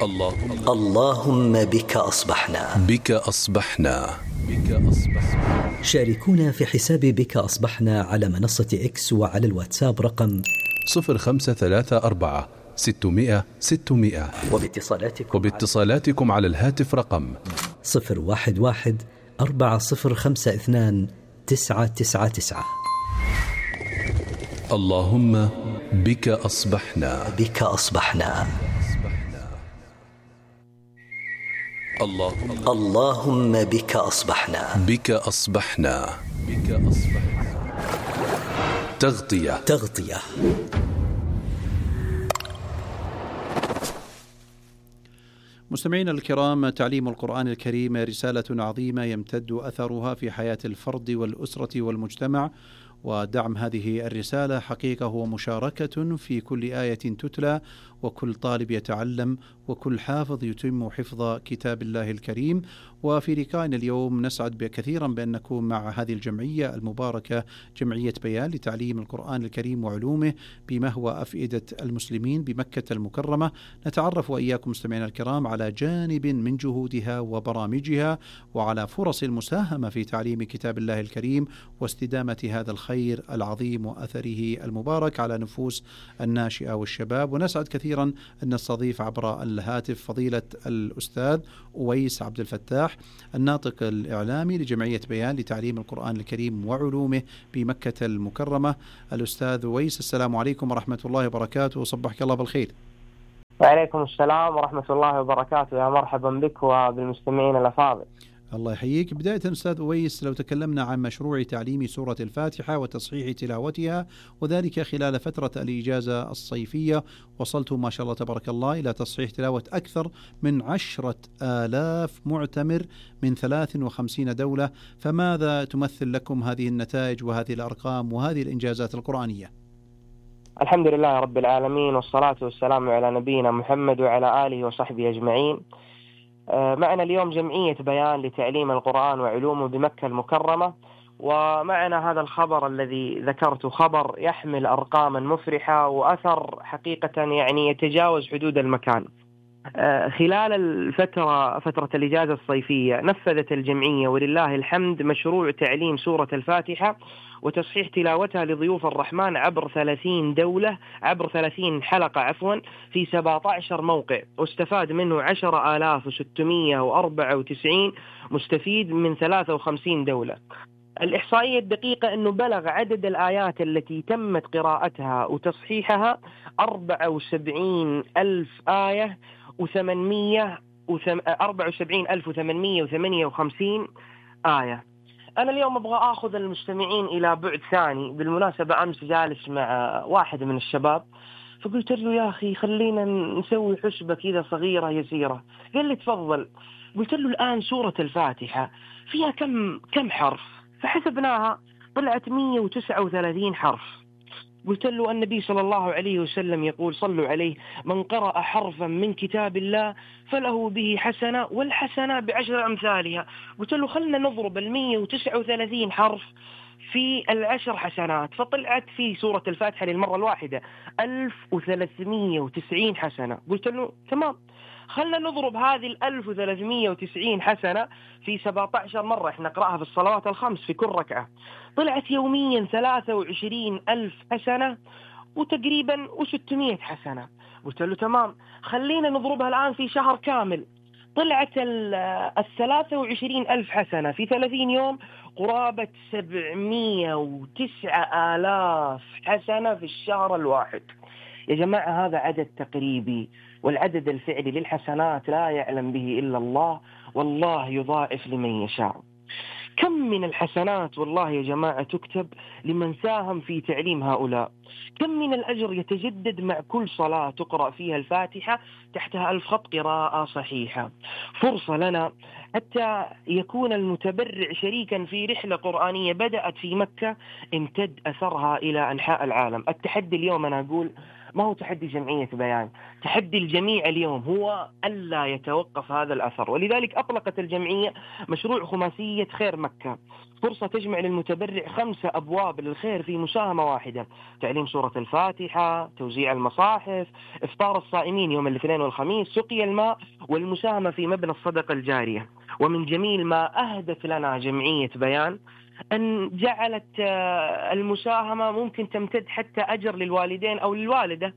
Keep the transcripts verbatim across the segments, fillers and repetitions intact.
اللهم اللهم بك أصبحنا بك أصبحنا بك أصبحنا. شاركونا في حساب بك أصبحنا على منصة إكس وعلى الواتساب رقم صفر خمسة ثلاثة أربعة ستمائة ستمائة وباتصالاتكم, وباتصالاتكم على الهاتف رقم صفر واحد واحد أربعة صفر خمسة اثنان تسعة تسعة تسعة. اللهم بك أصبحنا بك أصبحنا. اللهم اللهم بك أصبحنا بك أصبحنا بك أصبحنا. تغطية تغطية. مستمعينا الكرام، تعليم القرآن الكريم رسالة عظيمة يمتد أثرها في حياة الفرد والأسرة والمجتمع، ودعم هذه الرسالة حقيقة هو مشاركة في كل آية تتلى، وكل طالب يتعلم، وكل حافظ يتم حفظ كتاب الله الكريم. وفي لقائنا اليوم نسعد كثيرا بأن نكون مع هذه الجمعية المباركة، جمعية بيان لتعليم القرآن الكريم وعلومه بمهوى أفئدة المسلمين بمكة المكرمة. نتعرف وإياكم مستمعينا الكرام على جانب من جهودها وبرامجها، وعلى فرص المساهمة في تعليم كتاب الله الكريم واستدامة هذا الخير العظيم وأثره المبارك على نفوس الناشئة والشباب. ونسعد كثيرا أن نستضيف عبر الهاتف فضيلة الأستاذ أويس عبد الفتاح، الناطق الإعلامي لجمعية بيان لتعليم القرآن الكريم وعلومه بمكة المكرمة. الأستاذ أويس، السلام عليكم ورحمة الله وبركاته، وصبحك الله بالخير. وعليكم السلام ورحمة الله وبركاته، يا مرحبا بك وبالمستمعين الأفاضل. الله يحييك. بداية أستاذ أويس، لو تكلمنا عن مشروع تعليم سورة الفاتحة وتصحيح تلاوتها، وذلك خلال فترة الإجازة الصيفية، وصلتم ما شاء الله تبارك الله إلى تصحيح تلاوة أكثر من عشرة آلاف معتمر من ثلاث وخمسين دولة، فماذا تمثل لكم هذه النتائج وهذه الأرقام وهذه الإنجازات القرآنية؟ الحمد لله رب العالمين، والصلاة والسلام على نبينا محمد وعلى آله وصحبه أجمعين. معنا اليوم جمعية بيان لتعليم القرآن وعلومه بمكة المكرمة، ومعنا هذا الخبر الذي ذكرته، خبر يحمل أرقاما مفرحة وأثر حقيقة يعني يتجاوز حدود المكان. خلال الفترة فترة الإجازة الصيفية نفذت الجمعية ولله الحمد مشروع تعليم سورة الفاتحة وتصحيح تلاوتها لضيوف الرحمن عبر ثلاثين دولة، عبر ثلاثين حلقة عفوا في سبعة عشر موقع، واستفاد منه عشرة آلاف وستمائة وأربعة وتسعين مستفيد من ثلاثة وخمسين دولة. الإحصائية الدقيقة أنه بلغ عدد الآيات التي تمت قراءتها وتصحيحها أربعة وسبعين ألف آية وثمانمائة أربعة وسبعين ألف وثمانمائة وثمانية وخمسين آية. أنا اليوم أبغى أخذ المستمعين إلى بعد ثاني. بالمناسبة أمس جالس مع واحد من الشباب، فقلت له يا أخي خلينا نسوي حسبة كذا صغيرة يسيرة. قال لي تفضل. قلت له الآن سورة الفاتحة فيها كم كم حرف؟ فحسبناها طلعت مئة وتسعة وثلاثين حرف. قلت له النبي صلى الله عليه وسلم يقول صلوا عليه: من قرأ حرفا من كتاب الله فله به حسنة والحسنة بعشر أمثالها. قلت له خلنا نضرب المئة وتسعة وثلاثين حرف في العشر حسنات، فطلعت في سورة الفاتحة للمرة الواحدة ألف وثلاثمائة وتسعين حسنة. قلت له تمام، خلنا نضرب هذه الألف وثلاثمائة وتسعين حسنة في سبعة عشر مرة، احنا نقرأها في الصلوات الخمس في كل ركعة، طلعت يوميا ثلاثة وعشرين ألف حسنة وتقريبا وستمائة حسنة. قلت له تمام، خلينا نضربها الآن في شهر كامل، طلعت الثلاثة وعشرين ألف حسنة في ثلاثين يوم قرابة سبعمائة وتسعة آلاف حسنة في الشهر الواحد. يا جماعة هذا عدد تقريبي، والعدد الفعلي للحسنات لا يعلم به إلا الله، والله يضاعف لمن يشاء. كم من الحسنات والله يا جماعة تكتب لمن ساهم في تعليم هؤلاء، كم من الأجر يتجدد مع كل صلاة تقرأ فيها الفاتحة تحتها ألف خط قراءة صحيحة. فرصة لنا حتى يكون المتبرع شريكا في رحلة قرآنية بدأت في مكة امتد أثرها إلى أنحاء العالم. التحدي اليوم أنا أقول ما هو تحدي جمعية بيان، تحدي الجميع اليوم هو ألا يتوقف هذا الأثر. ولذلك أطلقت الجمعية مشروع خماسية خير مكة، فرصة تجمع للمتبرع خمسة أبواب للخير في مساهمة واحدة: تعليم سورة الفاتحة، توزيع المصاحف، إفطار الصائمين يوم الاثنين والخميس، سقي الماء، والمساهمة في مبنى الصدقة الجارية. ومن جميل ما أهدت لنا جمعية بيان أن جعلت المساهمة ممكن تمتد حتى أجر للوالدين أو للوالدة.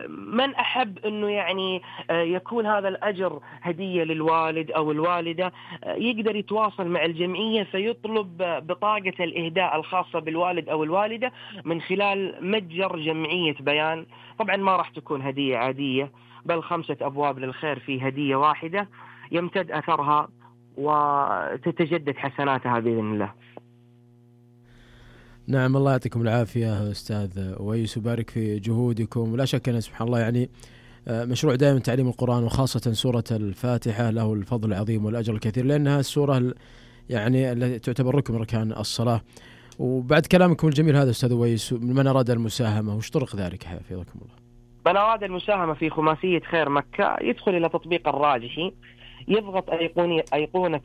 من أحب أنه يعني يكون هذا الأجر هدية للوالد أو الوالدة يقدر يتواصل مع الجمعية فيطلب بطاقة الإهداء الخاصة بالوالد أو الوالدة من خلال متجر جمعية بيان. طبعا ما راح تكون هدية عادية، بل خمسة أبواب للخير في هدية واحدة يمتد أثرها وتتجدد حسناتها بإذن الله. نعم، الله يعطيكم العافية أستاذ أويس وبارك في جهودكم. ولا شك أن سبحان الله يعني مشروع دائما تعليم القرآن وخاصة سورة الفاتحة له الفضل العظيم والأجر الكثير، لأنها السورة يعني التي تعتبر ركن من أركان الصلاة. وبعد كلامكم الجميل هذا أستاذ أويس، من أراد المساهمة وش طرق ذلك حفظكم الله؟ من أراد المساهمة في خماسية خير مكة يدخل إلى تطبيق الراجحي، يضغط أيقونة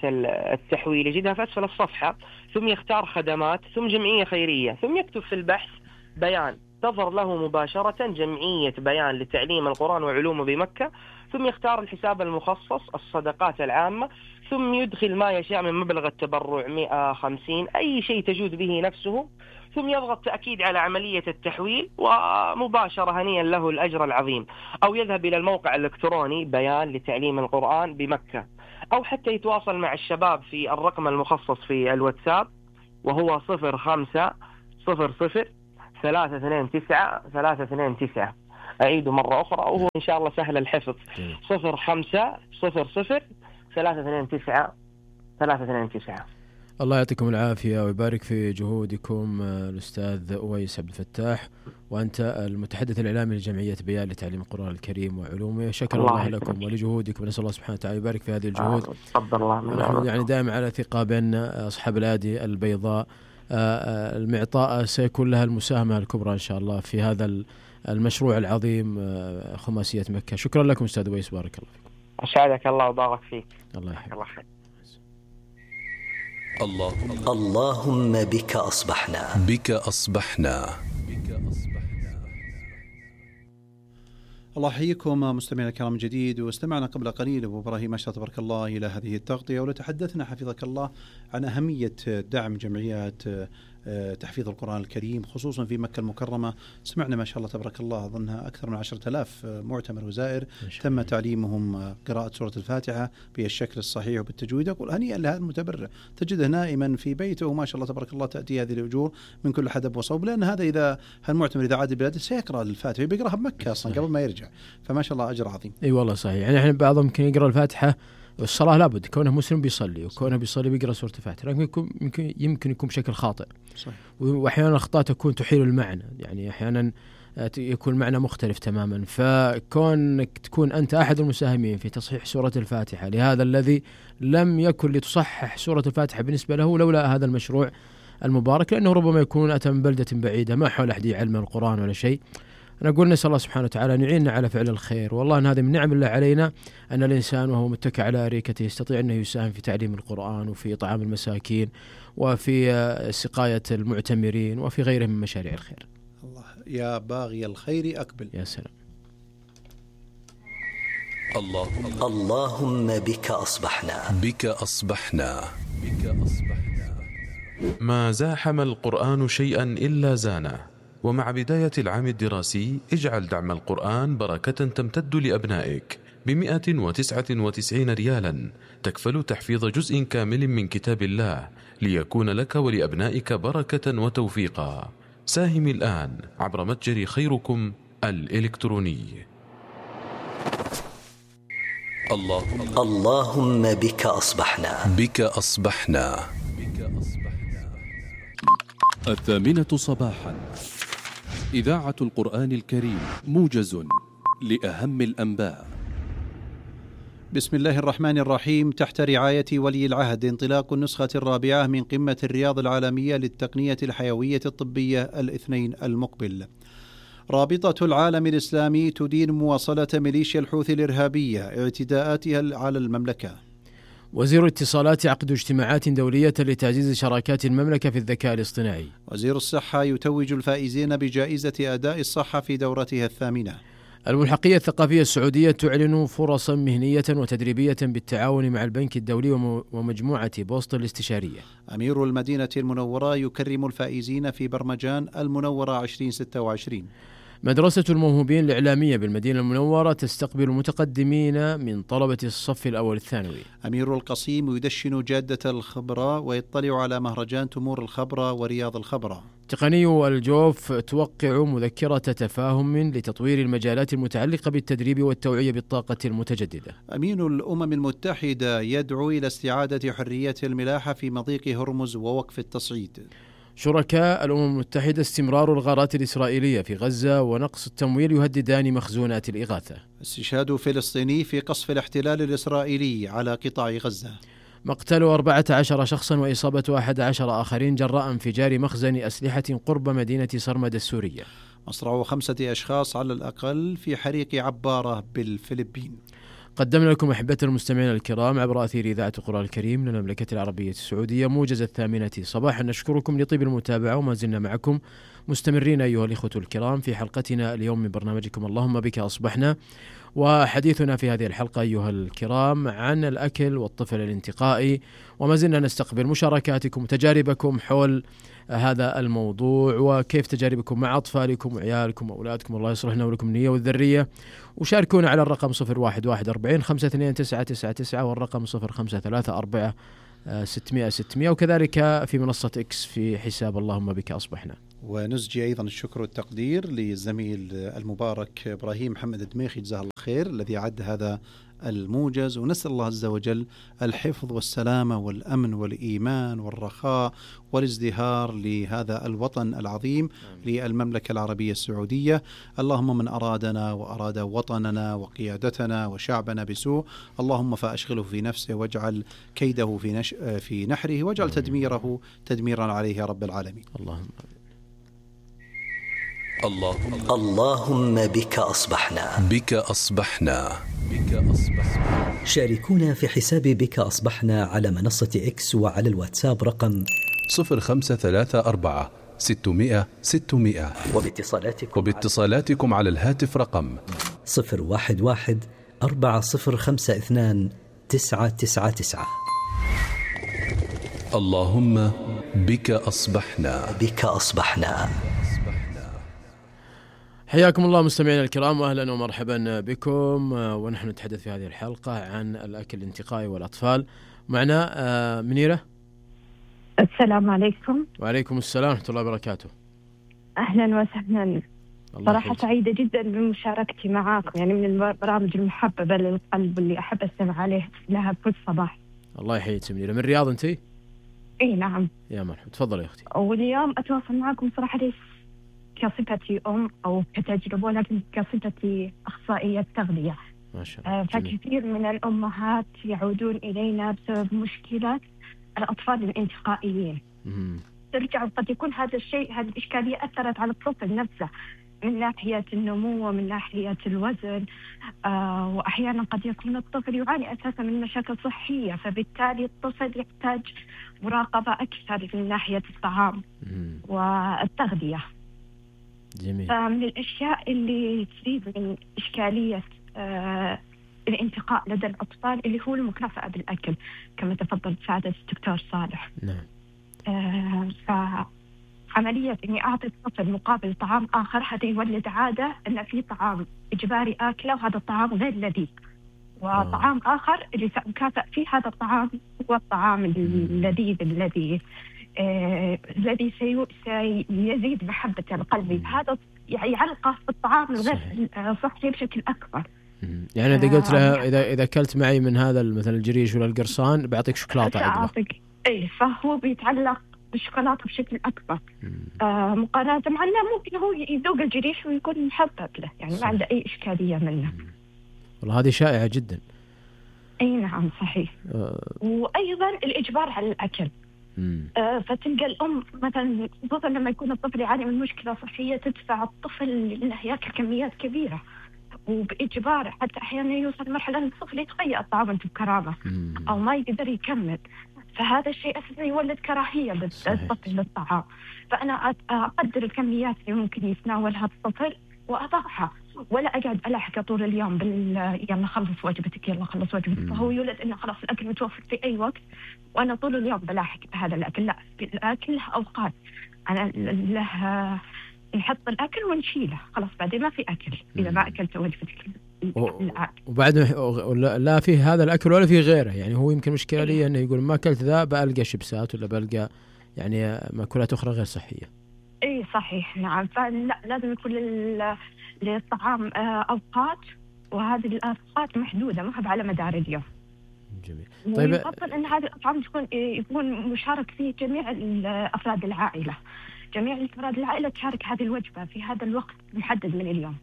التحويل يجدها في أسفل الصفحة، ثم يختار خدمات، ثم جمعية خيرية، ثم يكتب في البحث بيان، تظهر له مباشرة جمعية بيان لتعليم القرآن وعلومه بمكة، ثم يختار الحساب المخصص الصدقات العامة، ثم يدخل ما يشاء من مبلغ التبرع مئة خمسين أي شيء تجود به نفسه، ثم يضغط تأكيد على عملية التحويل ومباشرة هنيئا له الأجر العظيم. أو يذهب إلى الموقع الإلكتروني بيان لتعليم القرآن بمكة، أو حتى يتواصل مع الشباب في الرقم المخصص في الواتساب وهو صفر خمسة صفر صفر ثلاثة اثنين تسعة ثلاثة اثنين تسعة. أعيده مرة أخرى وهو إن شاء الله سهل الحفظ: صفر خمسة صفر صفر ثلاثة اثنين تسعة ثلاثة اثنين تسعة. الله يعطيكم العافية ويبارك في جهودكم الأستاذ أويس عبد الفتاح، وأنت المتحدث الإعلامي لجمعية بيان لتعليم القرآن الكريم وعلومه. شكرا الله, الله لكم ولجهودكم، ونسأل الله سبحانه وتعالى يبارك في هذه الجهود. تفضل الله. نحن يعني دائما على ثقة بأن أصحاب الأيادي البيضاء المعطاء سيكون لها المساهمة الكبرى إن شاء الله في هذا المشروع العظيم خماسية مكة. شكرا لكم أستاذ أويس، بارك الله فيكم. أسعدك الله وبارك فيك. الله يحفظك. الله خير. اللهم اللهم بك أصبحنا بك أصبحنا الله يحييكم مستمعينا الكرام جديد. واستمعنا قبل قليل أبو إبراهيم ما شاء تبارك الله إلى هذه التغطية، ولتحدثنا حفظك الله عن أهمية دعم جمعيات تحفيظ القرآن الكريم خصوصا في مكة المكرمة. سمعنا ما شاء الله تبارك الله أظنها أكثر من عشرة آلاف معتمر وزائر تم تعليمهم قراءة سورة الفاتحة بالشكل الصحيح وبالتجويد. أقول هنيئا لهذا المتبرع، تجده نائما في بيته وما شاء الله تبارك الله تأتي هذه الأجور من كل حدب وصوب، لأن هذا إذا هالمعتمر إذا عاد بلاده سيقرأ الفاتحة بيقرأها بمكة أصلا قبل ما يرجع، فما شاء الله أجر عظيم. أي والله صحيح. يعني إحنا بعضهم يمكن يقرأ الفاتحة الصلاة لابد كونه مسلم بيصلي، وكونه بيصلي بيقرأ سورة الفاتحة، لكن يكون يمكن يمكن يكون بشكل خاطئ. صحيح. وأحيانا الأخطاء تكون تحيل المعنى، يعني أحيانا يكون معنى مختلف تماما. فكونك تكون أنت أحد المساهمين في تصحيح سورة الفاتحة لهذا الذي لم يكن لتصحح سورة الفاتحة بالنسبة له لولا هذا المشروع المبارك، لأنه ربما يكون أتى من بلدة بعيدة ما حول أحد علم القرآن ولا شيء. أنا أقول نسأل الله سبحانه وتعالى أن يعيننا على فعل الخير، والله أن هذه من نعم الله علينا أن الإنسان وهو متكئ على أريكته يستطيع أنه يساهم في تعليم القرآن وفي طعام المساكين وفي سقاية المعتمرين وفي غيره من مشاريع الخير. الله يا باغي الخير أقبل. يا سلام. اللهم اللهم بك أصبحنا بك أصبحنا بك أصبحنا ما زاحم القرآن شيئا إلا زانه. ومع بداية العام الدراسي اجعل دعم القرآن بركة تمتد لأبنائك بمئة وتسعة وتسعين ريالا تكفل تحفيظ جزء كامل من كتاب الله ليكون لك ولأبنائك بركة وتوفيقا. ساهم الآن عبر متجر خيركم الإلكتروني. اللهم اللهم بك أصبحنا بك أصبحنا الثامنة صباحا إذاعة القرآن الكريم موجز لأهم الأنباء. بسم الله الرحمن الرحيم. تحت رعاية ولي العهد انطلاق النسخة الرابعة من قمة الرياض العالمية للتقنية الحيوية الطبية الاثنين المقبل. رابطة العالم الإسلامي تدين مواصلة ميليشيا الحوثي الإرهابية اعتداءاتها على المملكة. وزير الاتصالات يعقد اجتماعات دولية لتعزيز شراكات المملكة في الذكاء الاصطناعي. وزير الصحة يتوج الفائزين بجائزة أداء الصحة في دورتها الثامنة. الملحقية الثقافية السعودية تعلن فرصا مهنية وتدريبية بالتعاون مع البنك الدولي ومجموعة بوسطن الاستشارية. أمير المدينة المنورة يكرم الفائزين في برمجان المنورة عشرين ستة وعشرين. مدرسة الموهوبين الإعلامية بالمدينة المنورة تستقبل المتقدمين من طلبة الصف الأول الثانوي. أمير القصيم يدشن جادة الخبرة ويطلع على مهرجان تمور الخبرة ورياض الخبرة. تقني الجوف توقع مذكرة تفاهم لتطوير المجالات المتعلقة بالتدريب والتوعية بالطاقة المتجددة. أمين الأمم المتحدة يدعو إلى استعادة حرية الملاحة في مضيق هرمز ووقف التصعيد. شركاء الأمم المتحدة استمرار الغارات الإسرائيلية في غزة ونقص التمويل يهددان مخزونات الإغاثة. استشهاد فلسطيني في قصف الاحتلال الإسرائيلي على قطاع غزة. مقتل أربعة عشر شخصا وإصابة أحد عشر آخرين جراء انفجار مخزن أسلحة قرب مدينة صرمد السورية. مصرع خمسة أشخاص على الأقل في حريق عبارة بالفلبين. قدمنا لكم أحبتنا المستمعين الكرام عبر أثير إذاعة القرآن الكريم للمملكة العربية السعودية موجز الثامنة صباحا. نشكركم لطيب المتابعة وما زلنا معكم مستمرين أيها الإخوة الكرام في حلقتنا اليوم من برنامجكم اللهم بك أصبحنا، وحديثنا في هذه الحلقة أيها الكرام عن الأكل والطفل الانتقائي، وما زلنا نستقبل مشاركاتكم وتجاربكم حول هذا الموضوع وكيف تجاربكم مع أطفالكم وعيالكم وأولادكم. الله يصلح لنا ولكم النية والذرية. وشاركونا على الرقم صفر واحد واحد أربعين خمسة اثنين تسعة تسعة تسعة والرقم صفر خمسة ثلاثة أربعة ستمائة ستمائة، وكذلك في منصة إكس في حساب اللهم بك أصبحنا. ونسجي أيضا الشكر والتقدير للزميل المبارك إبراهيم محمد الدميخي جزاه الله خير الذي عد هذا الموجز، ونسأل الله عز وجل الحفظ والسلامة والأمن والإيمان والرخاء والازدهار لهذا الوطن العظيم للمملكة العربية السعودية. اللهم من أرادنا وأراد وطننا وقيادتنا وشعبنا بسوء اللهم فأشغله في نفسه واجعل كيده في, نش... في نحره واجعل تدميره تدميرا عليه يا رب العالمين. اللهم اللهم اللهم بك أصبحنا بك أصبحنا بك أصبحنا. شاركونا في حساب بك أصبحنا على منصة إكس وعلى الواتساب رقم صفر خمسة ثلاثة أربعة ستمائة ستمائة، وباتصالاتكم وباتصالاتكم على الهاتف رقم صفر واحد واحد أربعة صفر خمسة اثنان تسعة تسعة تسعة. اللهم بك أصبحنا بك أصبحنا. حياكم الله مستمعينا الكرام واهلا ومرحبا بكم، ونحن نتحدث في هذه الحلقة عن الأكل الانتقائي والأطفال. معنا منيرة. السلام عليكم. وعليكم السلام ورحمة الله وبركاته. أهلا وسهلا. صراحة سعيدة جدا بمشاركتي معاكم، يعني من البرامج المحببة للقلب اللي أحب أستمع عليه لها كل صباح. الله يحييك منيرة. من الرياض أنتي؟ إيه نعم. يا مرحبا، تفضلي يا أختي. واليوم أتواصل معكم صراحة ليس كصفتي أم أو كتجربة، ولكن كصفتي أخصائية تغذية. ما شاء الله. فكثير من الأمهات يعودون إلينا بسبب مشكلة الأطفال الانتقائيين. مم. ترجع قد يكون هذا الشيء هذه الإشكالية أثرت على الطفل نفسه من ناحية النمو ومن ناحية الوزن، آه وأحيانا قد يكون الطفل يعاني أساسا من مشاكل صحية، فبالتالي الطفل يحتاج مراقبة أكثر من ناحية الطعام مم. والتغذية. جميل. فمن الأشياء اللي تزيد من إشكالية آه الانتقاء لدى الأطفال اللي هو المكافأة بالأكل كما تفضل سعادة الدكتور صالح. نعم. آه فعملية إني أعطي الطفل مقابل طعام آخر هذا يولد عادة أن في طعام إجباري آكله وهذا الطعام غير لذيذ، وطعام آه. آخر اللي سأكافئ فيه هذا الطعام هو الطعام اللذيذ الذي آه الذي سيزيد محبة القلب. هذا يعني يعلقه في الطعام الغير صحي بشكل أكبر. يعني إذا قلت لها إذا إذا أكلت معي من هذا مثلا الجريش ولا القرصان بعطيك شوكولاتة عقبه. إيه، فهو بيتعلق بالشوكولاتة بشكل أكبر آه مقارنة مع أنه ممكن هو يذوق الجريش ويكون محبب له، يعني ما عنده أي إشكالية منه. والله هذه شائعة جدا. أي نعم صحيح. آه. وأيضا الإجبار على الأكل. آه فتلقى الأم مثلا خصوصا لما يكون الطفل يعاني من مشكلة صحية تدفع الطفل إنه يأكل كميات كبيرة وبإجبار، حتى أحيانا يوصل مرحلة أن الطفل يتغير الطعام بكرامة أو ما يقدر يكمل، فهذا الشيء أساسا يولد كراهية للطفل للطعام. فأنا أقدر الكميات اللي ممكن يتناولها الطفل وأضعها، ولا أقعد ألاحقه طول اليوم بال يلا خلص وجبتك يلا خلص وجبتك، فهو يولد إنه خلاص الأكل متوفر في أي وقت وأنا طول اليوم بلاحق هذا الأكل. لا، الأكل له أوقات، أنا له نحط الأكل ونشيله خلاص بعدين ما في أكل إذا ما أكلت وجبتك الآن. وبعد لا فيه هذا الأكل ولا فيه غيره، يعني هو يمكن مشكلة لي إنه يقول ما أكلت ذا بألقى شيبسات ولا بألقى يعني مأكولات أخرى غير صحية. إيه صحيح نعم، فلا لازم يكون للطعام أوقات، وهذه الأوقات محدودة ما هي على مدار اليوم. جميل. طيب يفضل أن هذه الأطعام تكون يكون مشارك فيه جميع أفراد العائلة، جميع أفراد العائلة تشارك هذه الوجبة في هذا الوقت محدد من اليوم.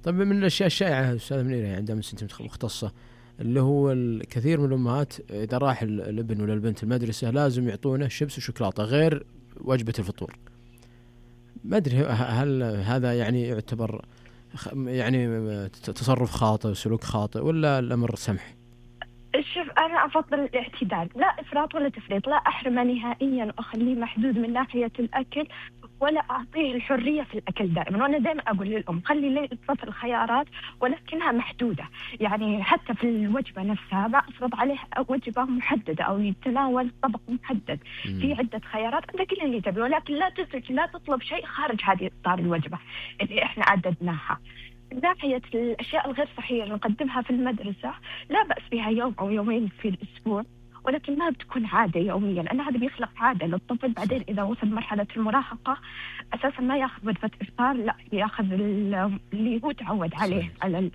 طيب من الأشياء الشائعة أستاذة منيرة عندما أنت مختصة اللي هو الكثير من الأمهات إذا راح الابن ولا البنت المدرسة لازم يعطونه شيبس وشوكولاتة غير وجبة الفطور. ما أدري هل هذا يعني يعتبر يعني تصرف خاطئ وسلوك خاطئ ولا الأمر سمح؟ شوف أنا أفضل الاعتدال، لا إفراط ولا تفريط، لا أحرمه نهائيا وأخليه محدود من ناحية الأكل ولا أعطيه الحرية في الأكل دائما. وأنا دائما أقول للأم خلي لي الطفل خيارات ولكنها محدودة، يعني حتى في الوجبة نفسها ما أفرض عليه وجبة محددة أو يتناول طبق محدد، في عدة خيارات أنت كل اللي تبي، ولكن لا تسرج لا تطلب شيء خارج هذه إطار الوجبة اللي إحنا عددناها. من ناحية الأشياء الغير صحية اللي نقدمها في المدرسة لا بأس بها يوم أو يومين في الأسبوع، ولكن ما بتكون عادة يوميا، لأن هذا بيخلق عادة للطفل. بعدين إذا وصل مرحلة المراهقة أساسا ما يأخذ وجبة إفطار، لا يأخذ اللي هو تعود عليه على